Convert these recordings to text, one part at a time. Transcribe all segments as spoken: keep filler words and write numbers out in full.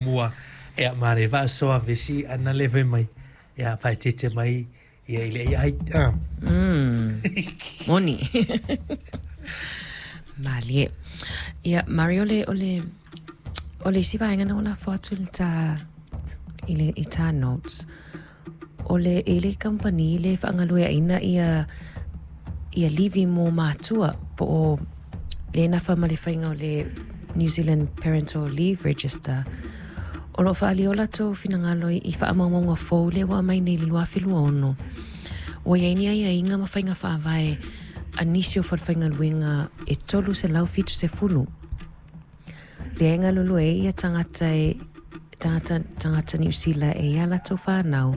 Mua ia ma le faasoa vesi ana le fai mai ia faaeteete mai ia i le A I ah. Mm. Moni. Malie. Ia, Mario, le, o le, o le isi vaega na o lafo atu i le tā, i le, i tā notes, o le, e le kamupani le faagalueaina ia, ia livi mo matua, po o le nafa ma le faiga o le New Zealand Parental Leave Register. O lo o faaalia o latou finagalo i faamaumauga fou lea ua aumai nei i le lua afe lua ono. Ua i ai ni aiaiga ma faiga faavae a nisi o falefaigaluega e tolu selau fitu sefulu. Lea e galulue ai ia tagata e tagata tagata Niu Sila e i a latou fanau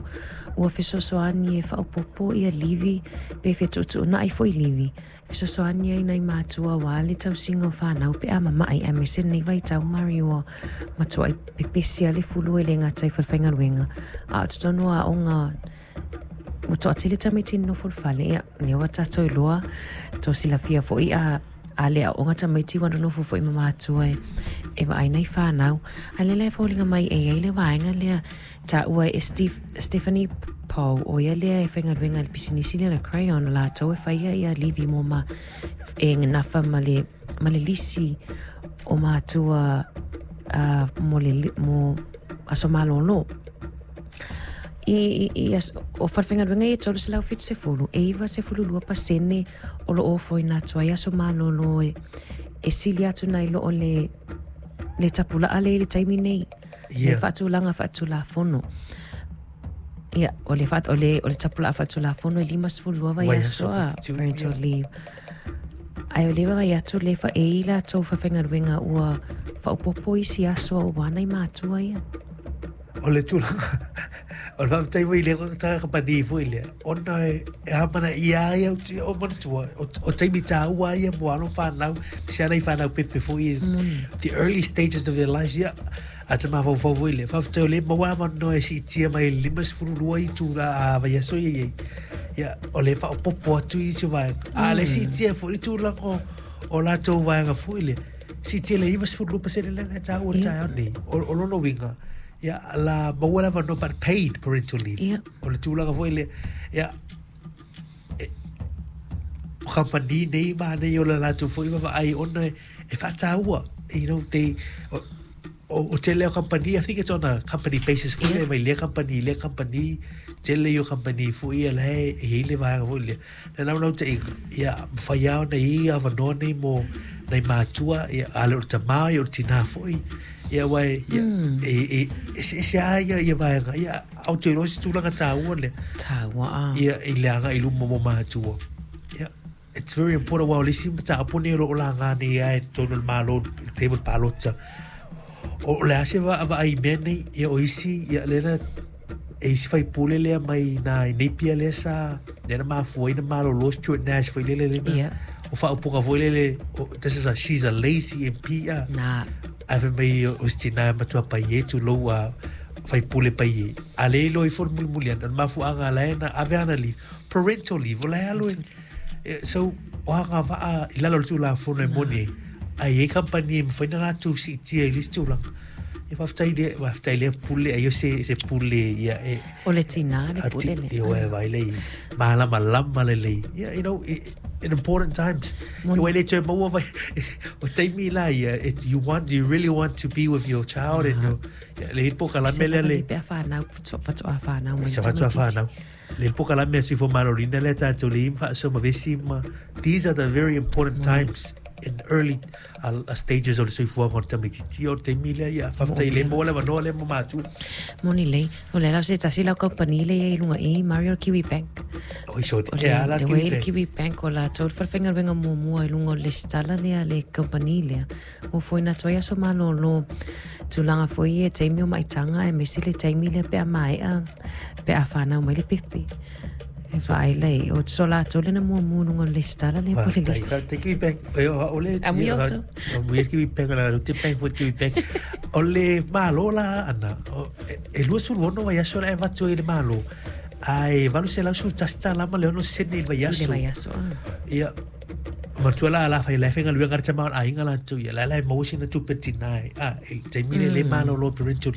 ua fesoasoani e faaopoopo ia livi pe fetuutuunai foi livi. Fesoasoani ai nai matua aua le tausiga o fanau pe a mama'i aemaise lenei vaitau mari ua matua'i pepesi a le fulu e le gata i falefaigaluega a o totonu o aoga ua toatele tamaiti nonofo i le fale. Ia lea ua tatou iloa tou silafia foi a a le aoga tamaiti ua nonofo foi ma matua e e vaai nai fanau ae lea la e foliga mai e iai le vaega lea taua e Steve, Stephanie Poe o ia lea e faigaluega i le pisinisi lea le Crayon o latou e faia ia livi mo ma e nafa ma le ma le lisi o matua uh, mo le mo aso malōlō. I, i, i as, o falefaigaluega ia tolu selau fitu sefulu, e iva sefulu lua pasene o lo o ofoina atu ai aso malōlō e, e sili atu nai lo o le, le tapulaa le i le taimi nei. Le Yeah. faatulaga faatulafono. Ia, o le, faat, o le, o le tapulaa faatulafono e lima sefulu lua Vaiaso vaiaso a fitu, parental yeah. leave. Ae o le vaavaai atu le fa e i latou falefaigaluega ua faaopoopo isi aso aua nai matua ia. O le tulaga o le faafetai foi i le tagata kamupani foi lea ona e e amanaia ai au te o manatua o, o taimi tāua ia mo alo whanau se ana i whanau pepe foi Moni. the early stages of their lives ia a te mafaufau foi lea faafetai o le maua avanoa e siitia mai le lima sefulu lua i tula a vaiaso ia iai ia o le faaopoopo atu i isi vaega a le siitia foi le tulaga o o latou vaega foi lea siitia le iva sefulu lua pasene lea na tāua le Ia. taeao nei o, o lona uiga ia la maua le avanoa but paid parental leave Ia. o le tulaga foi lea ia o kamupani nei ma nei o le latou foi vaavaai ona e, e faataua you know they o, o, o tele o kamupani I think it's on a company basis foi Ia. lea mai lea kamupani lea kamupani tele i o kamupani foi ia la e e i le vaega foi lea le naunautaiga ia mafai lava ona i avanoa nei mo nai matua ia a le o le tamā ia o le tinā foi ia uae ia Mm. e e eseese a ia ia vaega ia au te iloa se tulaga tāua lea Tāua a. ia i le aga'i luma mo matua ia it's very important uaʻa o le isi mataupu nei o loo laga nei ai totonu o le Malo i le taimi o le palota o le a se vaavaai i mea nei ia o isi ia lea na e isi faipule lea mai na i Napier lea sa lea na mafua ai na malōlō Stuart Nash foi lele lena Ia. o faaupuga foi lele o, this is a she's a lazy M P a Na. ae fai mai o se tinā e matua paie tulou a faipule paie a le iloa ifo le mulimuli ana o le mafuaaga la e na ave ana leave parental leave o la e alu e Eh, so o agavaa i lalo o le tulafono e moni ai a i ai kamupani e mafai na latou siitia i le isi tulaga e faafetai lea faafetai lea pule ai o se se pule ia e O le tinā le pule le. ia ua vai lei malamalama lelei yeah, you know i- in important times Moni. ua le toe maua vai o taimi la ia it, you want you really want to be with your child and your ia, le polokalame lea le Pe a whanau, whatoa whanau mai sa fatua tamaitiiti. whanau le polokalame a Soifua Maloloina lea tatou le ima faasoa ma vesi ma these are the very important times in early uh, uh, stages o le soifuaga o le tamaitiiti o le taimi lea ia faafetai le maua le avanoa lea mo matua. Moni lei, o le la se tasi lau kamupani le ia i lunga i Mario Kiwi Bank. Oi so O e le, ala le Kiwi wei le Bank. Kiwi Bank o latou le falefaigaluega muamua i luga o le lesitala lea le kamupani lea. Ua foina atu ai aso malōlō tulaga foi e taimi o maitaga aemaise le taimi lea pe a maea pe a fanau mai le pepe. E vaai lei, o so latou lena muamua i luga o le lesitala lea po le Faafetai. lisi. Faafetai Kiwi Bank. E, o o le Amuia outou. Amuia Kiwi Bank o la te bank foi Kiwi Bank. O le Malo la ana o, e, e lua sefulu ono vaiaso la e avatu ai i le Malo. Ae valu selau sefulu tasi tālā ma le ono sene i le I le vaiaso. vaiaso. Ah. Ia matua la la fai la faigaluega le tama o le aiga latou ia la la e maua sina tupe tinā e a i le taimi le le malōlō parental